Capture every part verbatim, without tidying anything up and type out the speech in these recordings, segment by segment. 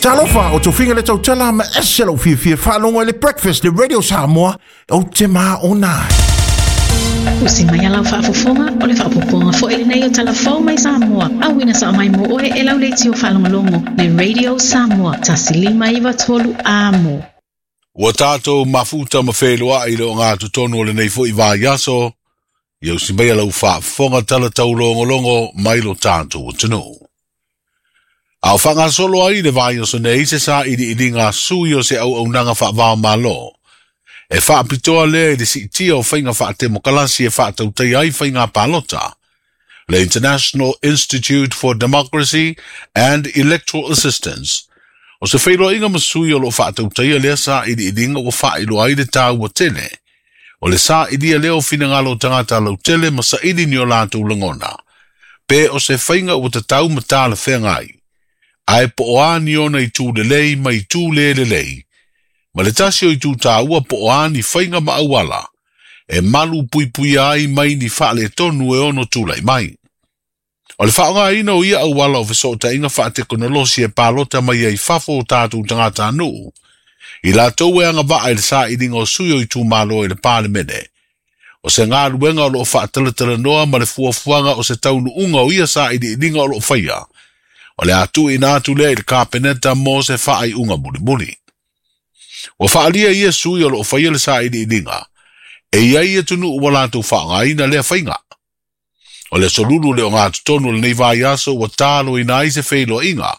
Talofa o tofiga le tautala ma ese lau fiafia faalogo i le Breakfast le Radio Samoa ou te maona ai. Usi mai a lau faafofoga o le faaopoopoga foi lenei o Tala Fou mai Samoa. Auina sao mai mo oe e lau leitio faalogologo le Radio Samoa tasi lima iva tolu amo. Ua tātou mafuta ma wheloa i le o ngā tutonu o lenei foi vaiaso, ia usi mai a lau faafofoga tala taulogologo mai lo tātou atunuu. A o whangasolo ai le vaiaso nei se sa ili ili ngā sui o se au au nanga whaavao malo. E whaapitoa lea i le siitia o whainga whaatemokalasi e whaatautai ai whainga palota. Le International Institute for Democracy and Electoral Assistance. O se whailoa inga masui o lo whaatautaia lea sa ili ilinga ua whaailoa ai le tāua tele. O le sa ilia leo finangalo tangata lau tele ma sa ili ni o lātou langona. Pe o se whainga ua tatau matala whengai. Ae po o ani ona i tū lelei ma i tū le lelei. Ma le tasi o i tū tāua po o ani whainga ma auala. E malu pui pui ai mai ni whaale tonu e ono tūlai mai. O le whaonga ina o ia auala o whesotainga inga whaatekonolosi e pālota mai ai fafo o tātou tangata anuu. I lātou e anga waa i le saa ilinga o sui o i tū malo i le pālemene. O se ngā luenga o loo whaatalatala noa ma le fuafuanga o se taunu unga o ia saa ili inga o loo whaia. O le atu ina atu lea i le kapeneta mo se whaai unga muli muli. O whaalia ia sui o loo whaia le saa ili ilinga. E ia ia tunu ua lātou whaangaina lea whainga. O le solulu le o ngā tutonu le nei vaiaso ua tālo ina ai se whailoa inga.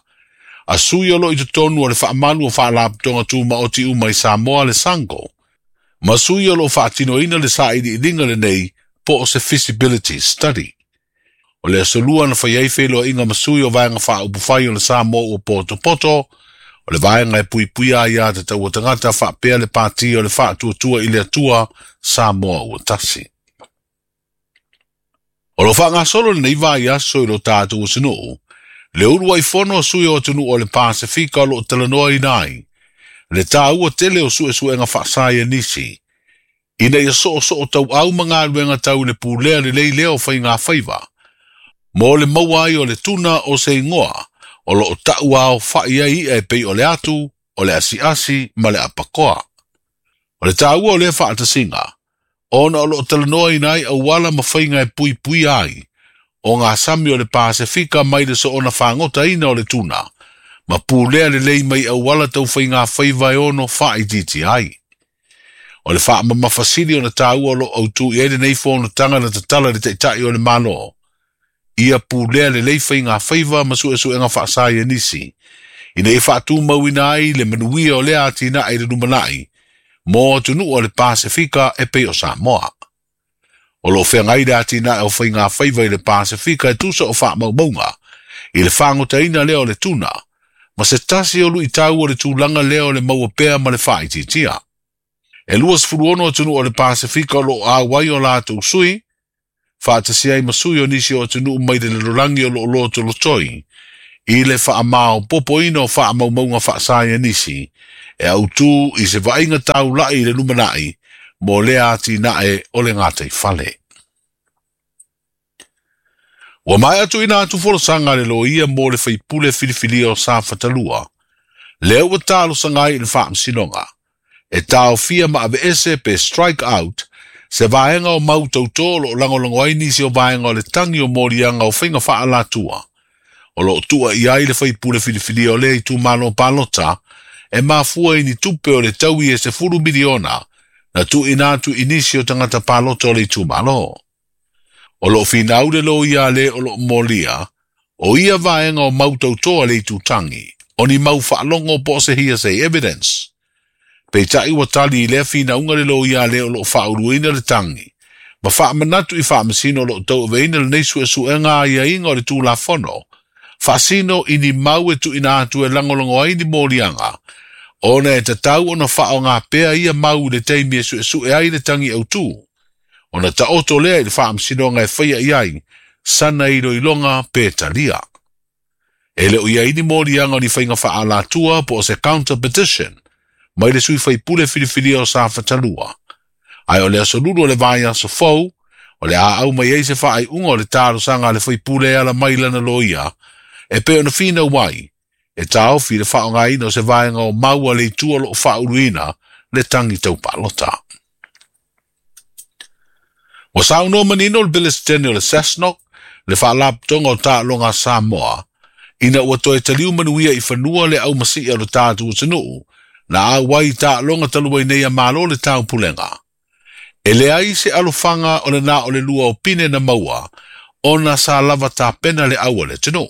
A sui o lo i tutonu o le whaamalu o whaalaputonga tūma o ti uma i Samoa le Sango. Ma sui o lo whaatino ina le saa ili ilinga le nei po o se feasibility study. O le asolua na whaiai whailoa inga masui o vaenga whaaupuwhai o le Samoa ua poto poto. O le vaenga e pui puia ia te taua tangata whaapea le pāti o le whaatuatua i le atua Samoa ua tasi. O lo whangasolo le nei vaiaso i lo tātou atunuu, le uru ai fono a sui o atunuu o le Pasifika o lo talanoa inai, le tāua tele o suesuenga whaasai a nisi, ina ia so o so o tau au mangaluenga tau le pūlea le lei leo whai ngā whaiva. Mo le maua ai o le tuna o se ingoa, o lo o tau ao whai ai e pei o le atu, o le asiasi ma le apakoa. O le tāua o le whaatasinga, ona o lo talanoa inai auala ma whainga e pui pui ai, o ngā sami o le Pasifika mai le so ona whangota ina o le tuna, ma pūlea le lei mai auala tau whainga whaiva e ono whaititi ai. O le whaamamawhasili o na tāua o lo autu i ere nei whōna tanga na tatala le teitai o le malo. Ia pūlea le lei whainga whaiva ma suesuenga whaasai a nisi. Ina e whaatumau ina ai le manuia o lea atina ai le lumanai, mō atunu o le Pasifika e pei o Samoa. O lo whengai le atina e o whainga whaiva i le Pasifika e tusa o whaamaumaunga, i le whangotaina lea o le tuna, ma se tasi o lui tau o le tūlanga lea o le maua pea ma le whaititia. E lua sefulu ono atunu o le Pasifika o lo awai o lātou sui, whaatasi ai masui o nisi o atunu mai le lelorangi o lo loto lotoi, i le whaamao popoina o whaamaumaunga whaasai a nisi, e autu i se vainga taulai i le lumanai, mo lea ati nae o le ngātei whale. Ua mai atu ina atu folosanga le loia mo le whaipule filifilia o sa whatalua, lea ua tālo sangai i le whaamsinonga, e tāofia ma ave ese pe strike out, se vaenga o mau tauto lo langolongo ai nisi o vaenga o le tangi o morianga o whainga whaalatua. O lo tua i ai le whaipule filifilia o lea i tūmalo palota, e mafua i ni tupe o le taui e se fulu miliona, na tu ina atu inisi o tangata palota o le tūmalo. O lo whinaure lo ia le o lo molia, o ia vaenga o mau tautoa le tūtangi, o ni mau whaalongo po se hearsay evidence. Peitai ua tali i lea whinaunga le lo ia le o lo whauluina le tangi, ma whaamanatu i whaamasino lo tau aveina le nei suesuenga a ia inga o le tūlafono, whaasino i ni mau e tu ina atu e langolongo ai ni molianga, ona e tatau ona whao ngā pea ia mau le teimi e suesue ai le tangi au tū. Ona taoto lea i le whaamsinoga e whaia i ai, sana i loilonga pe talia. E leo ia ini molianga o ni whainga whaalatua po o se counter petition, mai le sui whaipule filifilia o sa whatalua. Ai o le asolulu o le vai aso fou, o le a au mai ei se whaai unga o le talo sanga le whaipule ala mai lana loia, e pe ona whina wai, E taofi le faaaogaina o se vaega o mau a le itu o loo faauluina le tagi taupalota. Ua saunoa manino le Pelesitene o le SASNOC, le faalapotopotoga o taaloga a Samoa, ina ua toe taliu manuia i fanua le aumasii o le tatou atunuu, na auai i taaloga talu ai nei a Malo le taupulega. E leai se alofaga o le na o le lua o pine na maua, ona sa lava tapena le au a le atunuu.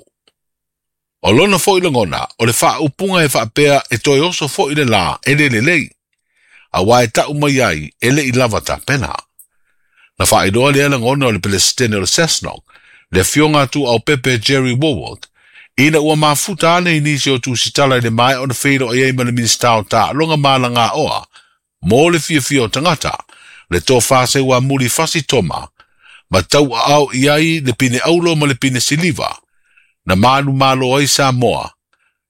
O lona foi lagona, o le faaupuga e faapea e toe oso foi le lā e le lelei, auā e tau mai ai e le i lava tapena. Na faailoa lea lagona o le Pelesitene o le SASNOC, le afioga Tuuaupepe Jerry Wallwork, ina ua mafuta ane i nisi o tusitala i le maea ona feiloai ai ma le Minisita o Taaloga ma Alagaoa mo le fiafia o tagata, le tofa Seuamuli Fasi Toma, ma tauaao i ai le pine aulo ma le pine siliva, na manumalo ai Samoa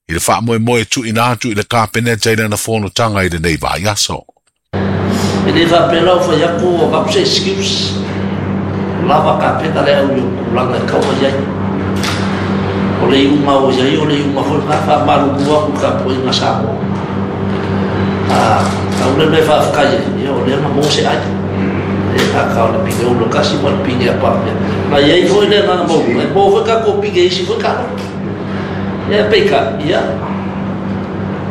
i le faamoemoe tuuina atu i le Kapeneta i lana fonotaga i lenei vaiaso. E le faapea la o fai atu o avatu se excuse, o lava kapena le au i o tulaga e tau mai ai. O le iuga o i ai, o le iuga foi lena faamalulu atu i le tapuaiga Samoa. A tau le mea e faafetai ai, ia o lea na maua se ai. E kaka o le pine ula tasi ma le pine a papea. Na i ai foi le agaga maualuga, e maua foi tatou pine i isi foi taaloga. Ia peitai, ia,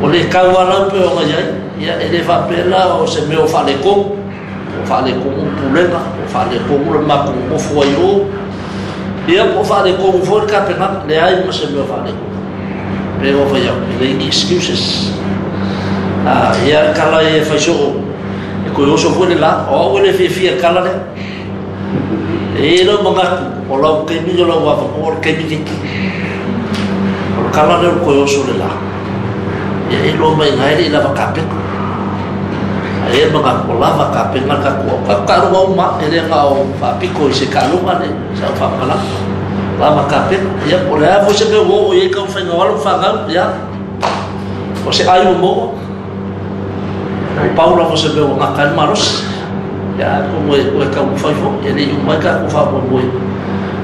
o le tau lava lau pei ona i ai, ia, e le faapea la o se mea o faaletonu, po o faaletonu le pulega, po o faaletonu le matou nonofo ai o, ia, po o faaletonu foi le tapenaga, leai ma se mea o faaletonu. Pei ona fai atu, e leai ni excuses. A, ia, le tala ia e fai soo, e toe oso foi le la, o au e le fiafia i le tala lea. E i ai lou manatu, o lau taimi o lau avanoa o le taimi nei. O le tala lea o le toe oso le la. Ia e iloa mai ina e le i lava tapena. Ae i ai le manatu, o lava tapena le tatou au. Tatou taaloga uma lava, e le na o faapito i se taaloga le sau faamatalaga. Lava tapena. Ia, po o le a foi se mea ua oo i ai taumafaiga o alo ma fanau, ia, o se ai ua maua. Ua pau lava o se mea ua gata ai le malosi. Ia, atonu e toe taumafai foi, e le i uma ai tatou faamoemoe.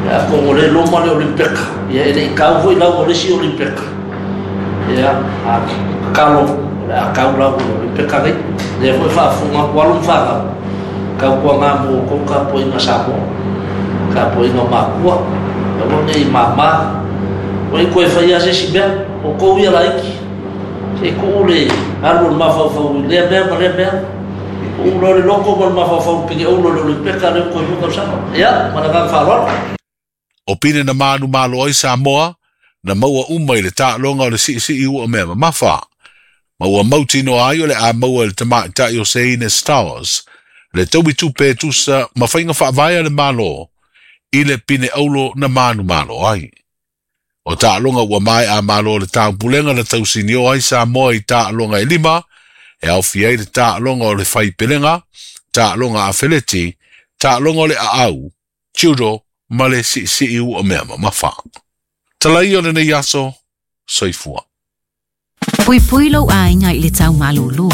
Ia, atonu o lea e loma le Olimpeka, ia e le i tau foi lau o le isi Olimpeka. Ia, a tatalo, o le a tau lau o le Olimpeka nei. Lea foi e faafofoga atu alo ma fanau, tautuaga mo outou tapuaiga Samoa, tapuaiga matua, aua ne i mama. Ua i toe faia se isi mea, outou ia laiti, se i tuu le alu o le mafaufau i lea mea ma lea mea. Tuu loa le loto ma le mafaufau i le piliaulu o le Olimpeka lea ua toe lua tausaga. Ia, ma le agaga faaaloalo. O pine na manumalo ai Samoa, na maua uma i le taaloga o le siisii ua mea mamafa, ma ua mautinoa ai o le a maua e le tamaitai o Seine Stowers le taui tupe e tusa ma faiga faavae a le Malo i le pine aulo na manumalo ai. O taaloga ua maea a Malo o le taupulega na tausinio ai Samoa i taaloga e lima, e aofia ai le taaloga o le faipelega, taaloga afeleti, taaloga o le aau, judo ma le siisii ua mea mamafa. Talai o lenei aso, soifua. Puipui lou aiga i le tau malūlū,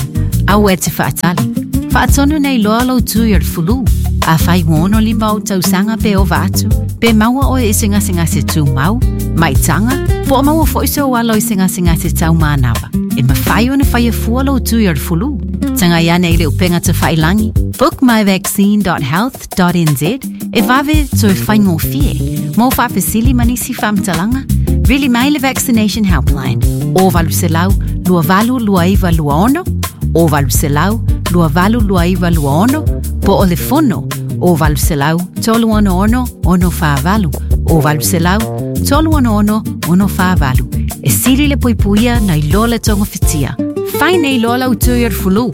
aua e te faatali. Faatonu nei loa lou tui o le fulu. Afai ua ono lima ou tausaga pe ova atu, pe maua oe i se gasegase tumau, maitaga, po o maua foi sou alo i se gasegase taumanava, e mafai ona faia fua lou tui o le fulu. Tagai ane i le upega tafailangi book my vaccine dot health dot n z e vave toe faigofie. Mo faafesili ma nisi faamatalaga, vili mai le Vaccination Helpline o valu selau lua valu lua iva lua ono, o valu selau lua valu lua iva lua ono, po o le fono o valu selau tolu ono ono ono fa valu, o valu selau tolu ono ono ono fa valu. E sili le puipuia nai lo le togofitia. Fai nei loa lau tui o le fulu.